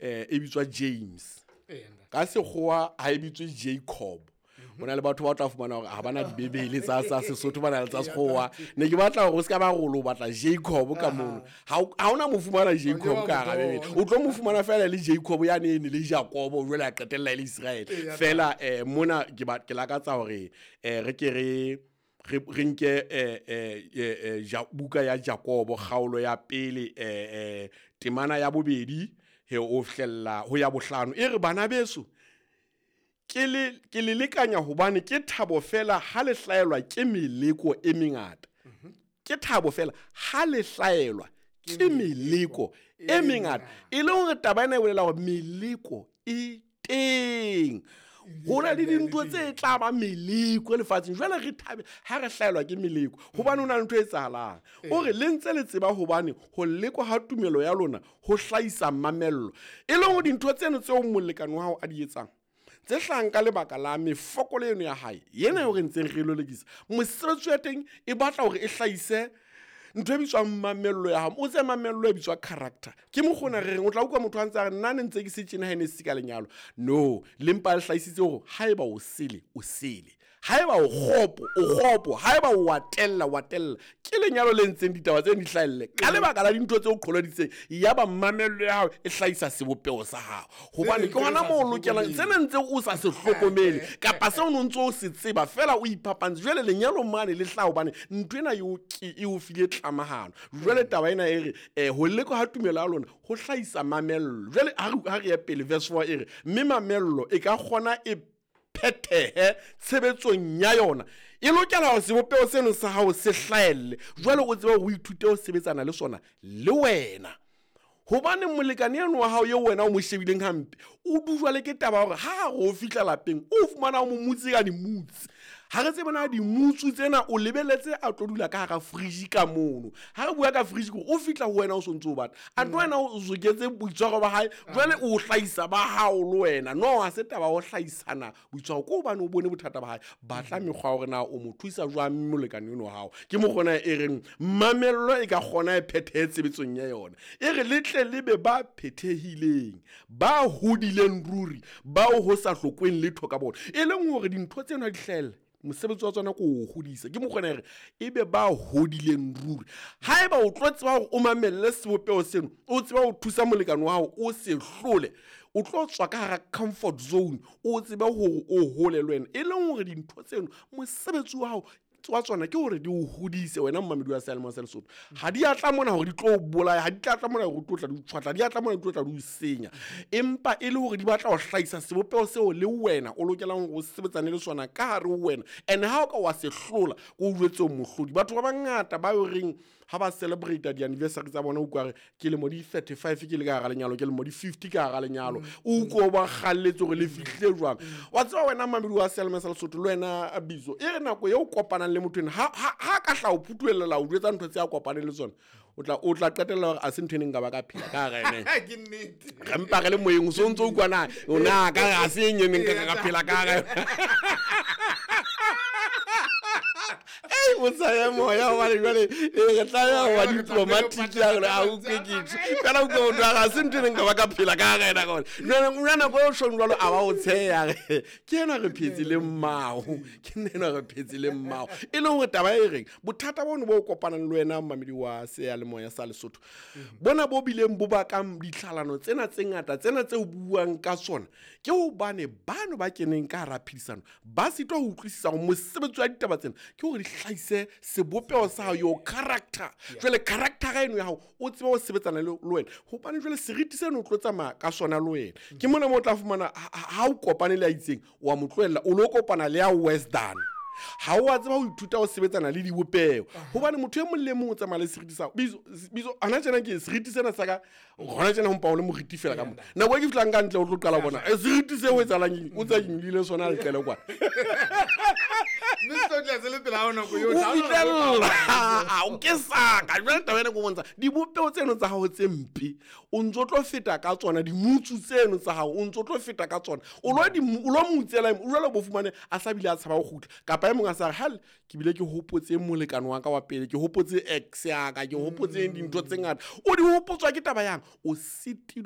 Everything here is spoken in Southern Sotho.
E bitswa James. Ka sekgowa ha e bitswe Jacob. Ho na le batho ba tla fumana hore ha bana dibebele tsa Sesotho, ba na le tsa sekgowa. Ne ke batla hore o ska ba rolo, o batla Jacob ka mono. Ha hona mo fumana Jacob ka hara Bebele. O tlo mo fumana fela le Jacob ya ne le Jacobo, jwale a qetella e le Israel. Fela mona ke lakatsa hore re ke re re nke buka ya Jacobo, kgaolo ya pele, temana ya bobedi he o hlella ho ya bohlano. E re, bana beso, ke le lekanya hobane ke thabo fela ha le hlaelwa ke meleko e mengata. Ke thabo fela ha le hlaelwa ke meleko e mengata. E le hore taba ena e bolela hore meleko e teng. Ho na le dintho tse tla ba meleko lefatsheng. Jwale re thabe ha re hlaelwa ke meleko, hobane ho na le ntho e etsahalang. O re le ntse le tseba hobane ho lekwa ha tumelo ya lona ho hlahisa mamello. E leng hore dintho tseno tseo molekane wa hao a di etsang, tse hlahang ka lebaka la mefokolo eno ya hae, yena eo re ntseng re lelekisa, mosebetsi wa teng e batla hore e hlahise ntho e bitswang mamello ya hao. O tse mamello e bitswa character. Ke mokgona re reng o tla utlwa motho a ntse a re nna ne ntse ke se tjena ha ne se ka lenyalo. No, le mpa le hlahisitse hore haeba o sele, o sele. Haeba o kgopo, o kgopo. Haeba o wa tella, wa tella. Ke lenyalo le ntseng ditaba tse di hlahelle ka lebaka la dintho tse o qholoditseng. Yaba mamello ya hao e hlahisa sebopeho sa hao. Hobane ke hona moo o lokelang sena ntse o sa se hlokomele kapa seo o ntse o se tseba fela o iphapantse. Jwale lenyalo mane le hlaha hobane ntho ena e o file tlamahano. Jwale taba ena e re ho lekwa ha tumelo ya lona ho hlahisa mamello. Jwale ha re ya pele verse 4 e re mme mamello e ka kgona e phethehe tshebetsong ya yona. E lokela hore sebopeho seno sa hao se hlahelle. Jwale o tsebe hore o ithute ho sebetsana le sona le wena. Hobane molekane eno wa hao eo wena o mo shebileng hampe, o dujwa le ke taba hore ha re o fihla lapeng, o fumana o mo mutse ka dimutsi. Ha re tsebe na dimutsu tsena o lebeletse a tlo dula ka hara fridge ka mono. Ha re bua ka fridge ke o fihla ho wena o sontso o batla. A tlo wena o soketse boitshwaro ba hae, jwale o hlahisa ba hao le wena. No, ha se taba ho hlahisana boitshwaro, ke hobane o bone bothata ba hae. Batla mekgwa hore na o mo thusa jwang molekane ono wa hao. Ke mokgona e reng mamello e ka kgona e phethehe tshebetsong ya yona. E re le tle le be ba phethehileng, ba hodileng ruri, bao ho sa hlokweng letho ka bona. E leng hore dintho tsena di hlahella, mosebetsi wa tsona ke o hodisa. Ke mokgona e re ebe ba hodileng ruri. Haeba o tlo tseba hore o mamelle sebopeho seno, o tseba ho thusa molekane wa hao, o se hlole, o tlo tswa ka hara comfort zone, o tsebe hore o hole le wena. E leng hore dintho tseno mosebetsi wa hao wa tsona ke hore di o hodise wena mmamedi wa seyalemoya sa Lesotho. Ha di a tla mona hore di tlo o bolaya, ha di tla tla mona hore di tlo tla di o tshwatla, di a tla mona di tlo tla di o senya. Empa e le hore di batla ho hlahisa sebopeho seo le wena o lokelang hore o sebetsane le sona ka hare ho wena. And ha o ka wa se hlola, ko o jwetse o mohlodi. Batho ba bangata ba yo reng ha ba celebrate di-anniversary tsa bona, o utlwa re ke lemo di 35 ke le ka hara lenyalo, ke lemo di 50 ka hara lenyalo. O utlwa o ba kgalletse hore le fihlile jwang. Wa tseba wena mmamedi wa seyalemoya sa Lesotho, le wena Bizo, e re nako eo kopanang le motho ena, ha ka hla o phutuellela o jwetsa ntho tse a kopaneng le tsona, o tla qetella hore a se ntho e neng nka ba ka phela ka hara ene. Ke nnete. Re mpa re le moyeng, o so ntso utlwa na, o na ka re ha se e neng nka ka phela ka hara yona. Ei, o sa ye moya, hobane jwale, re tlameha ho ba diplomatic ya rona, ha utlwe ke tjho. Fela utlwe motho wa re, ha se ntho e neng nka ba ka phela ka hara yena ka hona. Jwale, o nako eo tjhong jwalo, a ba o tsheha, re, ke enwa re phetse le mmao, ke nna enwa re phetse le mmao. E leng hore taba e reng, bothata bono bo kopanang le wena mmamedi wa seyalemoya sa Lesotho, bona bo bileng bo bakang ditlhalano tsena tse ngata, tsena tse o buang ka tsona, ke hobane bano ba keneng ka hara phedisano ba sitwa ho utlwisisa hore mosebetsi wa ditaba tsena ke hore di hlahise sebopeho sa hao, your character. Jwale character eno ya hao o tsebe ho sebetsana le wena, hobane jwale seriti seno o tlo tsamaya ka sona le wena. Ke mona moo o tla fumana ha o kopane le a itseng, wa mo tlohella, o lo kopana le ya worse than. Ha o a tseba ho ithuta ho sebetsana le dibopeho, hobane motho e mong le mong o tsamaya le seriti sa hao. Bizo, Bizo, hona tjena ke seriti sena sa ka, hona tjena ho mpa o le moriti fela ka mona. Nako e ke fihlang ka ntle o tlo qala ho bona, seriti seo o etsahalang eng? O tsa nyolohile sona leqele kwana. Mme se tlo dula se le pela hao nako yohle. O fihlella. O ke saka. Jwale taba ena ke o bontsha, dibopeho tseno tsa hao tse mpe, o ntso tlo feta ka tsona, dimutsu tseno tsa hao, o ntso tlo feta ka tsona. O lo di o lo mutsela, o jwale bo fumane a sa bile a tshaba ho kgutla. Kapa e mong a sa re, hal, ke bile ke hopotse molekane wa ka wa pele, ke hopotse ex ya ka, ke hopotse dintho tse ngata. O di hopotswa ke taba yang? O sitilwe